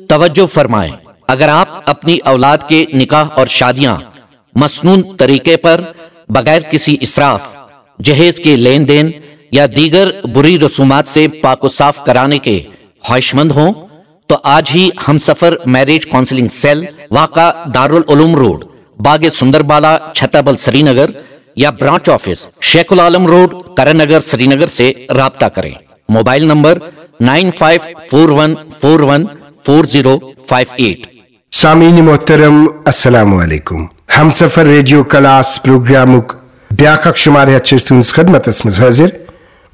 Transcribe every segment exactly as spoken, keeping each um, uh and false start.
توجہ فرمائیں، اگر آپ اپنی اولاد کے نکاح اور شادیاں مسنون طریقے پر، بغیر کسی اسراف، جہیز کے لین دین یا دیگر بری رسومات سے پاک و صاف کرانے کے خواہش مند ہوں تو آج ہی ہم سفر میرج کاؤنسلنگ سیل، واقع دارالعلوم روڈ، باغ سندر بالا، چھتابل، سری نگر، یا branch office, Sheikh ul-Alam road, Karan Nagar, Srinagar سے رابطہ کریں۔ Mobile number nine five four one four one four zero five eight. سامعین محترم، السلام علیکم۔ ہمسفر ریڈیو کلاس پروگرامک بیاکھ اکھ شمارٕ ہیتھ چھِ أسۍ تُہنٛدِس خدمتس منٛز حٲضِر۔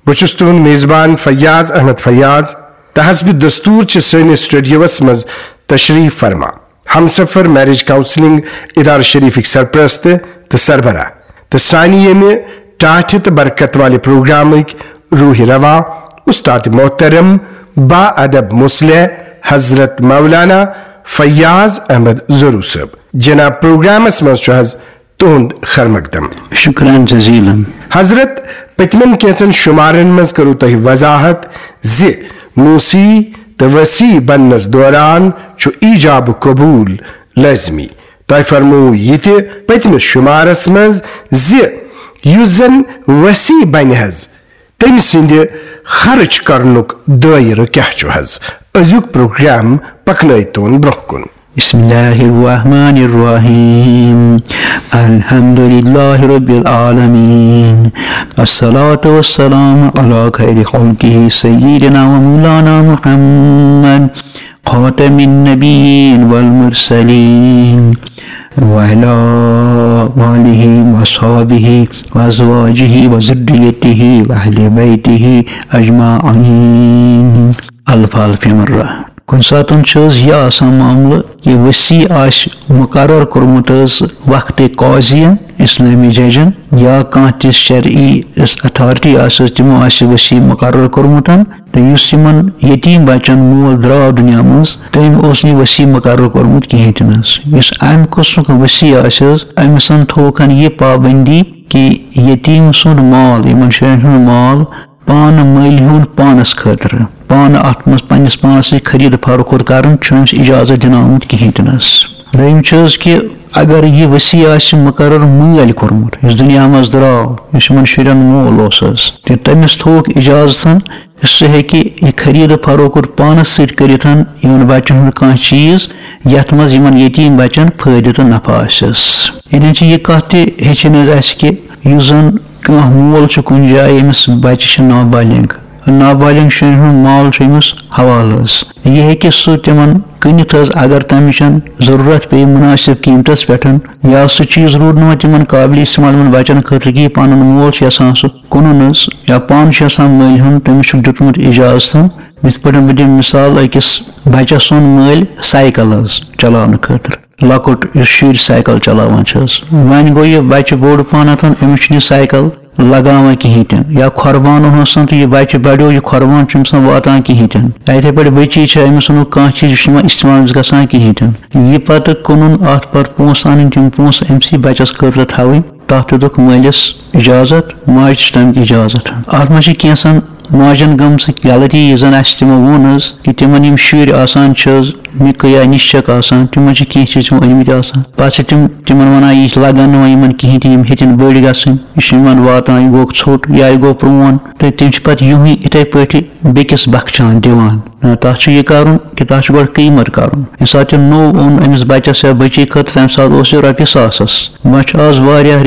بہٕ چھُس تُہنٛد میزبان فیاض احمد فیاض۔ تہٕ حسب دستور چھِ سٲنِس سٹوڈیوس منٛز تشریف فرما ہمسفر میرج کاؤنسلنگ ادارٕ شریفٕکۍ سرپرست تہٕ سربراہ تہٕ سانہِ ییٚمہِ ٹاٹھہِ تہٕ برکت والہِ پروگرامٕکۍ روح روا، استاد محترم، با ادب مصلح، حضرت مولانا فیاض احمد زرو صٲب۔ جناب، پروگرامس منٛز چھُ حض تُہُنٛد خیر مقدم۔ شکران جزیلا۔ حضرت، پٔتمٮ۪ن کینٛژن شمارن منٛز کٔرٕو تۄہہِ وضاحت زِ موسی تہٕ وسی بننس دوران چھُ ایجاب قبول لٲزمی۔ تۄہہِ فرموو یہِ تہِ پٔتمِس شمارس منٛز زِ یُس زن وسی بنہِ حض، تٔمۍ سٕنٛدِ خرٕچ کرنُک دٲیرٕ کیٛاہ چھُ حض؟ أزیُک پروگرام پکنٲوتون برٛونٛہہ کُن۔ بسم الله الرحمن الرحيم. الحمد لله رب العالمين. الصلاة والسلام على خير خلقه سيدنا ومولانا محمد خاتم النبيين والمرسلين وعلى آله وصحبه وأزواجه وذريته وأهل بيته أجمعين. الف الف مرة. کُنہِ ساتہٕ چھُ حض یہِ آسان معاملہٕ کہِ وسی آسہِ مقرر کوٚرمُت حض وقت قاضین، اسلٲمی ججن، یا کانٛہہ تہِ شرعی یۄس اتھارٹی آسہِ حض، تِمو آسہِ وسی مقرر کوٚرمُت۔ تہٕ یُس یِمن یتیٖم بچن مول درٛاو دُنیا منٛز، تٔمۍ اوس نہٕ یہِ وسی مقرر کوٚرمُت کِہیٖنۍ تہِ نہٕ حض۔ یُس امہِ قٕسمُک وسی آسہِ حض، أمِس تھوٚوکھ یہِ پابندی کہِ یتیٖم سُنٛد مال، یِمن شُرٮ۪ن ہُنٛد مال، پانہٕ مٔلۍ ہیوٚن پانس خٲطرٕ، پانہٕ اتھ منٛز پننِس پانس سۭتۍ خرید فروخت کرُن چھُنہٕ أمِس اجازت دِنہٕ آمُت کِہیٖنۍ تہِ نہٕ حض۔ دوٚیِم چھِ حض کہِ اگر یہِ وسی آسہِ مقرر مٲلۍ کوٚرمُت، یُس دُنیا منٛز درٛاو، یُس یِمن شُرٮ۪ن مول اوس حض، تہٕ تٔمِس تھوٚوُکھ اجازت، سُہ ہیٚکہِ یہِ خرید فروخت پانس سۭتۍ کٔرِتھ یِمن بچن ہُنٛد کانٛہہ چیٖز، یتھ منٛز یِمن یتیٖم بچن فٲیدٕ تہٕ نفع آسٮ۪س۔ ییٚتٮ۪ن چھِ یہِ کتھ تہِ ہیٚچھِنۍ حض اسہِ کہِ یُس زن کانٛہہ مول چھُ کُنہِ جایہِ، أمِس بچہِ چھِ نابالغ، نابالغ شُرٮ۪ن ہُنٛد مال چھُ أمِس حوالہٕ حض۔ یہِ ہیٚکہِ سُہ تِمن کٕنِتھ حض، اگر تمِچ ضروٗرت پیٚیہِ مناسب قۭمتس پٮ۪ٹھ، یا سُہ چیٖز روٗد نہٕ وۄنۍ تِمن قابلِ استعمال یِمن بچن خٲطرٕ کِہیٖنۍ، پنُن مول چھُ یژھان سُہ کٕنُن حض، یا پانہٕ چھُ یژھان مٔلۍ ہیوٚن، تٔمِس چھُکھ دیُتمُت اجازت۔ یِتھ پٲٹھۍ بہٕ دِمہٕ مثال أکِس بچس اوٚن مٲلۍ سایکل حض چلاونہٕ خٲطرٕ۔ لۄکُٹ یُس شُرۍ سایکل چلاوان چھِ حظ۔ وۄنۍ گوٚو یہِ بچہِ بوٚڑ پہنتھ، أمِس چھُنہٕ یہِ سایکل لگاوان کِہیٖنۍ تہِ نہٕ۔ یا کھۄربان اوس آسان تہٕ یہِ بچہِ بڑیو، یہِ کھۄربان چھُنہٕ آسان واتان کِہیٖنۍ تہِ نہٕ۔ یا یِتھَے پٲٹھۍ بٔچی چھِ، أمِس اوٚنُکھ کانٛہہ چیٖز، یہِ چھُنہٕ وۄنۍ استعمالَس گژھان کِہیٖنۍ تہِ نہٕ۔ یہِ پتہٕ کٕنُن، اَتھ پتہٕ پونٛسہٕ اَنٕنۍ، تِم پونٛسہٕ أمۍ سٕے بچَس خٲطرٕ تھاوٕنۍ، تَتھ تہِ دیُتُکھ مٲلِس اجازت، ماجہِ تہِ چھِ تَمیُک اجازت۔ اَتھ منٛز چھِ کینٛژَن ماجن گٔمژٕ غلطی، یہِ زن اسہِ تِمو ووٚن حظ، کہِ تِمن یِم شُرۍ آسان چھِ حظ، نِکہٕ یا نِشچک آسان، تِمن چھِ کینٛہہ چیٖز تِمو أنمٕتۍ آسان۔ پتہٕ چھِ تِم تِمن ونان، یہِ لگن نہٕ وۄنۍ یِمن کِہیٖنۍ تہِ، یِم ہیٚتن بٔڑۍ گژھٕنۍ، یہِ چھُ یِمن واتان، یہِ گوٚو ژھوٚٹ یا یہِ گوٚو پرٛون، تہٕ تِم چھِ پتہٕ یِہُے یِتھے پٲٹھۍ بیٚکِس بخچان دِوان۔ نہ، تتھ چھُ یہِ کرُن کہِ تتھ چھُ گۄڈٕ قۭمت کرُن۔ ییٚمہِ ساتہٕ تِم نوٚو اوٚن أمِس بچس یا بچی خٲطرٕ، تمہِ ساتہٕ اوس یہِ رۄپیہِ ساسس۔ وۄنۍ چھُ آز واریاہ